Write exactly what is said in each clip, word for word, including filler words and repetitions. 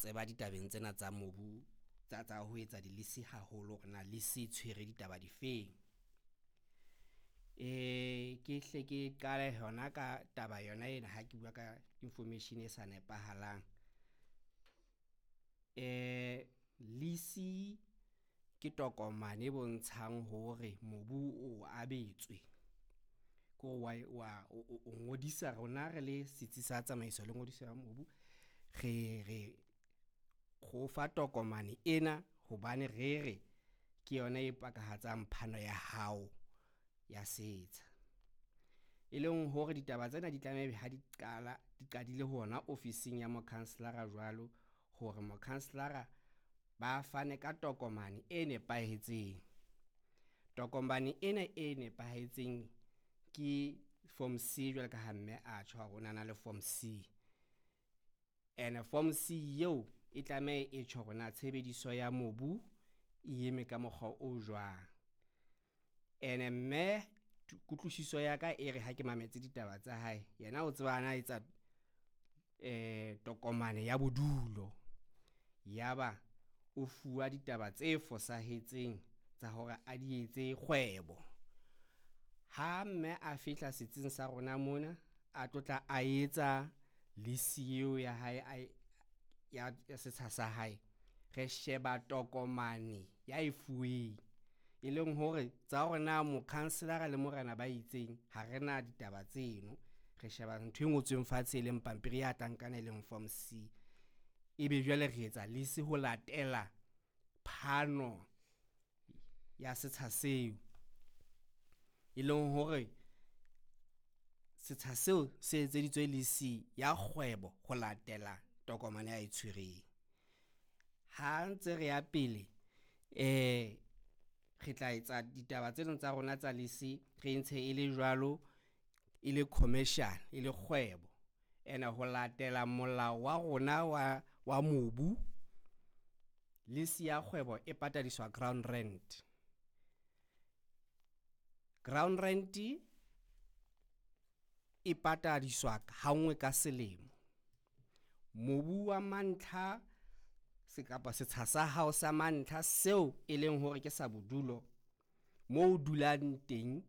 tseba ditabeng tsena tsa mobu tsa tsa ho etsa di-lease haholo hore na lease e tshwere ditaba difeng. Eh ke hle ke qale hona ka taba yona ena ha ke bua ka information e sa nepahalang. Eh lease ke tokomane e bontshang hore mobu o abetswe, ke hore wa o ngodisa rona re le setsi sa tsamaiso le ngodiso ya mobu. Re re re o fa tokomane ena hobane re re ke yona e pakahatsang phano ya hao ya setsha. E leng hore ditaba tsena di tlameha ebe ha di qala, di qadile hona ofising ya mokhanselara jwalo hore mokhanselara ba fane ka tokomane e nepahetseng. Tokomane ena e nepahetseng ke form C jwalo ka ha mme a tjho hore o na na le form C. Ene form C eo e tlameha e tjho hore na tshebediso ya mobu e eme ka mokgwa o jwang. Ene mme kutlwisiso ya ka e re ha ke mametse ditaba tsa hae, yena o tseba ana etsa eh tokomane ya bodulo. Yaba o fuwa ditaba tse fosahetseng tsa hore a di etse kgwebo. Ha mme a fihla setsing sa rona mona, a tlotla a etsa lease eo ya hae a ya setsha sa hae, re sheba tokomane ya e fuweng. E leng hore tsa hore na mokhanselara le morena ba itseng, ha re na ditaba tseno. Re sheba ntho e ngotsweng fatshe e leng pampiri ya tlankana e leng form C. Ebe jwale re etsa lease ho latela phano ya setsha seo. E leng hore setsha seo se etseditswe lease ya kgwebo ho latela tokomane ya e tshwereng. Ha ntse re ya pele, eh re tla etsa ditaba tsena tsa rona tsa lease re ntshe e le jwalo, e le commercial, e le kgwebo. Ene ho latela molao wa rona wa wa mobu, lease ya kgwebo e patadiswa ground rent. Ground rent e patadiswa ha nngwe ka selemo. Mobu wa mantlha se kapa setsha sa hao sa mantlha seo e leng hore ke sa bodulo, moo o dulang teng,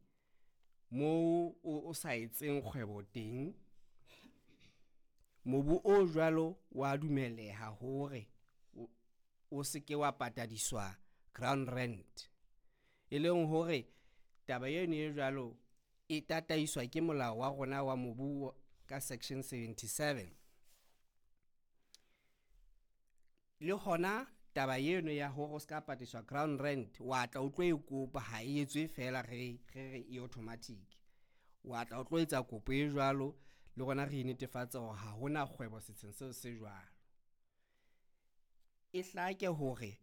moo o sa etseng kgwebo teng. Mobu o jwalo wa dumeleha hore o se ke wa patadiswa ground rent. E leng hore taba eno e jwalo e tataiswa ke molao wa rona wa mobu ka section seventy-seven. Le hona taba eno ya hore o ska patadiswa ground rent, wa tla o tlo e kopa, ha e etswe fela re re re e automatic. Wa tla o tlo etsa kopo e jwalo, le rona re netefatsa hore ha hona kgwebo setsheng seo se jwalo. E hlake hore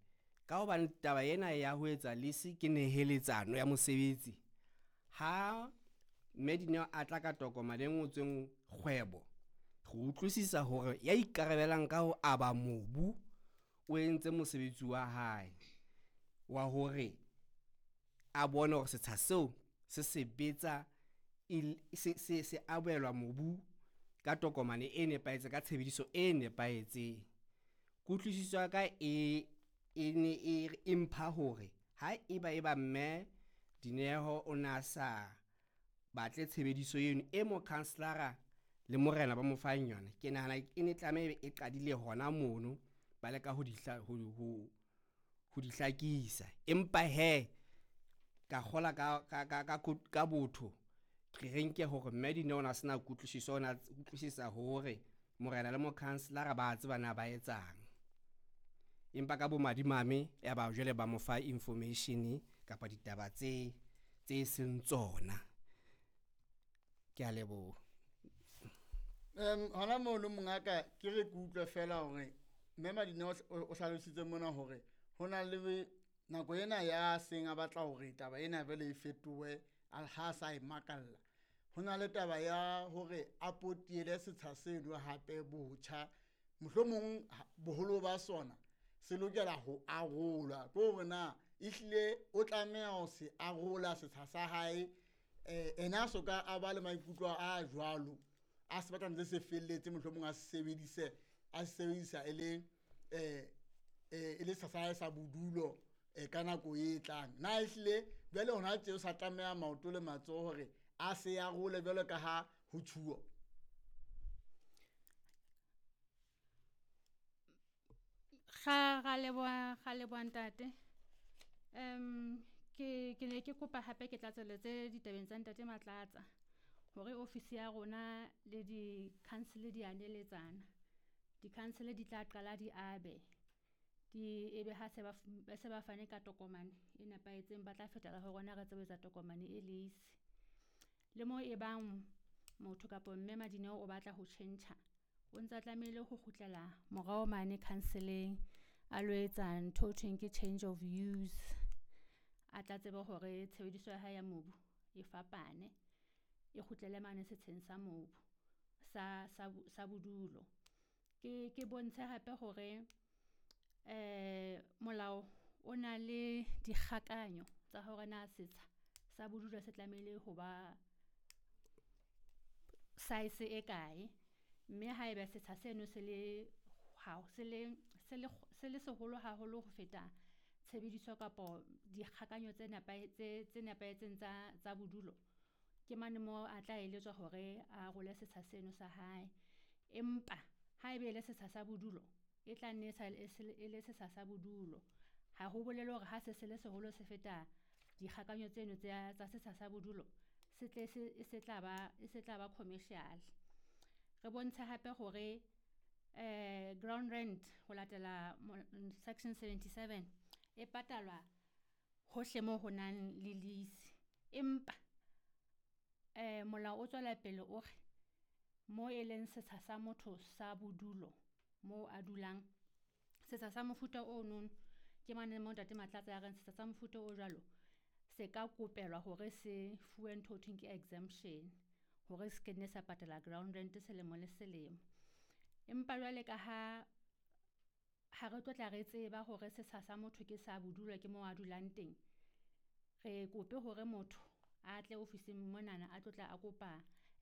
ka hobane taba ena ya ho etsa lease ke neheletsano ya mosebetsi, ha mme Dineo a tla ka tokomane e ngotsweng kgwebo, re utlwisisa hore ya ikarabelang ka ho aba mobu o entse mosebetsi wa hae wa hore a bone hore setsha seo se sebetsa se se se abelwa mobu ka tokomane e nepahetseng, ka tshebediso e nepahetseng. Kutlwisiso ya ka e e ne e empha hore ha eba eba mme Dineo o na sa batle tshebediso eno e mokhanselara le morena ba mo fang yona, ke nahana e ne tlameha e qadile hona mono ba leka ho di ho ho ho di hlakisa. Empa he ka kgola ka ka ka ka botho re nke hore mme Dineo ona sena kutlwisiso, ona utlwisisa hore morena le mokhanselara ba tseba na ba etsang. Empa ka bomadimabe ya ba jwale ba mo fa information kapa ditaba tse tse seng tsona. Ke a leboha. Em hona mono mongaka ke re ke utlwe fela hore mme Madineo o hlalositse mona hore ho na le nako ena ya seng a batla hore taba ena vele e fetohe ha sa e makalla. Ho na le taba ya hore a potiele setsha seno hape botjha, mohlomong boholo ba sona se lokela ho arolwa, ke hore na ehlile o tlameha ho se arola setsha sa hae. Eh ena so ka a ba le maikutlo a jwalo, a se batla ntse se felletse, mohlomong a se sebedise, a se sebedisa e le um e le setsha sa hae sa bodulo um ka nako e tlang. Na ehlile jwale hona tje o sa tlameha maoto le matsoho hore a se arole jwalo ka ha ho tjhuwa? Ga ra leboha, ra leboha ntate. Um ke ke ne ke kopa hape ke tlatseletse ditabeng tsa ntate Matlatsa hore ofisi ya rona le di-council di a neletsana. Di-council di tla qala di abe di ebe ha se ba ba se ba fane ka tokomane e nepahetseng, ba tla fetela ho rona re tsebe ho etsa tokomane e lease. Le mo e bang motho kapo mme Madineo o batla ho tjhentjha, o ntsa tlamehile ho kgutlela morao mane council-eng a lo etsa ntho eo thweng ke change of use. A tla tsebe hore tshebediso ya hae ya mobu e fapane, e kgutlele mane setsheng sa mobu sa sa sa bodulo. Ke ke bontshe hape hore molao o na le dikgakanyo tsa hore na setsha sa bodulo se tlamehile ho ba size e kae, mme haeba setsha seno se le se le se le se le seholo haholo ho feta tshebediso kapo dikgakanyo tse tse nepahetseng tsa tsa bodulo. Ke mane mo a tla eletswa hore a arole setsha seno sa hae. Empa haebe e le setsha sa bodulo, e tla nne e e le setsha sa bodulo. Ha ho bolele hore ha se se le seholo se feta dikgakanyo tseno tsa tsa setsha sa bodulo, se tle se e se tla ba e se tla ba commercial. Re bontshe hape hore ground rent ho latela section seventy-seven e patalwa hohle moo ho nang le lease. Empa molao o tswela pele o re mo e leng setsha sa motho sa bodulo moo a dulang, setsha sa mofuta ono ke mane mo ntate Matlatsa a reng setsha sa mofuta o jwalo se ka kopelwa hore se fuwe ntho ho thweng ke exemption hore se ke nne sa patala ground rent selemo le selemo. Empa jwale ka ha ha re tlo tla re tseba hore setsha sa motho ke sa bodulo ke mo a dulang teng, re kope hore motho a tle ofising monana a tlo tla a kopa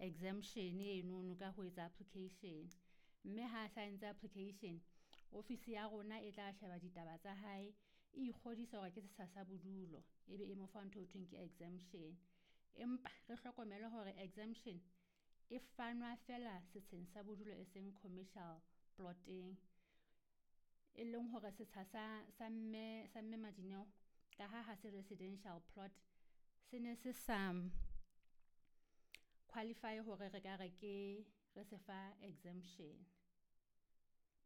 exemption enono ka ho etsa application. Mme ha sa entse application, ofisi ya rona e tla sheba ditaba tsa hae, e ikgodisa hore ke setsha sa bodulo, ebe e mo fa ntho ho thweng ke exemption. Empa re hlokomele hore exemption e fanwa fela setsheng sa bodulo e seng commercial plot-eng. E leng hore setsha sa sa mme sa mme Madineo ka ha ha se residential plot, se ne se sa qualify hore re ka re ke re se fa exemption.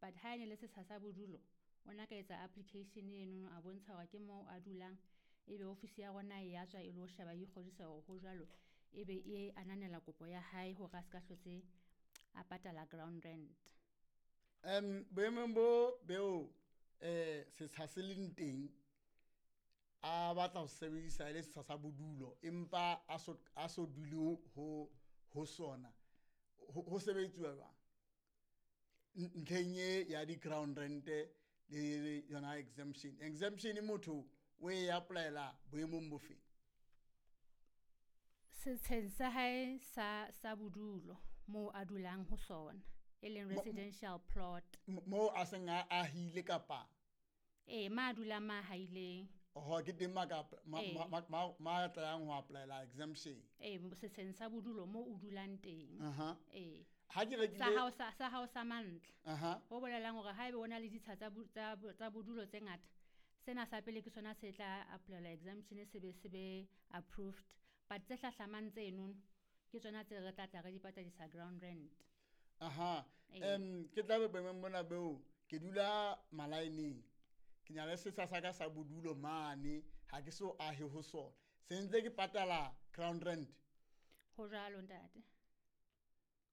But ha e ne le setsha sa bodulo, o na ka etsa application enono a bontsha hore ke moo a dulang, ebe ofisi ya rona e ya tswa e lo sheba e ikgodisa hore ho jwalo, ebe e ananela kopo ya hae hore a ska hlotse a patala ground rent. Um boemong bo beo um setsha se leng teng a batla ho sebedisa e le setsha sa bodulo, empa a so a so dule ho ho sona, ho ho sebetsuwa jwang ntlheng e ya di-ground rent le yona exemption? Exemption motho o e apply-ela boemong bo feng? Setsheng sa hae sa sa bodulo moo a dulang ho sona, e leng residential plot. Moo a seng a ahile kapa? Ee, ma dulang ma haileng. Oho, ke teng ma ka ma ma ma ma tlayang ho apply-ela exemption. Ee, setsheng sa bodulo moo o dulang teng. Aha. Ee. Ha ke rekile Sa hao sa sa hao sa mantlha. Aha. Ho bolelang hore haebe o na le ditsha tsa tsa tsa bodulo tse ngata, sena sa pele ke sona se tla apply-elwa exemption se be se be approved. But tse hlahlamang tseno ke tsona tse re tla tla re di patadisa ground rent. Aha. Um ke tla be boemong mona beo ke dula malaeneng. Ke na le setsha sa ka sa bodulo mane, ha ke so ahe ho sona. Se ntse ke patala ground rent. Ho jwalo ntate.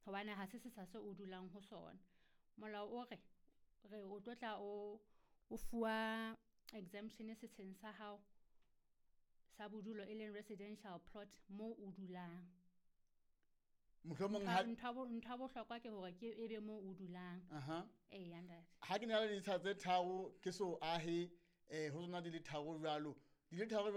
Hobane ha se setsha seo o dulang ho sona. Molao o re re o tlo tla o o fuwa exemption setsheng sa hao sa bodulo e leng residential plot moo o dulang. Mohlomong ha Ntho ntho ya bohlokwa ke hore ke ebe moo o dulang. Aha. Eya ntate. Ha ke na le ditsha tse tharo ke so ahe eh ho tsona di le tharo jwalo. Di le tharo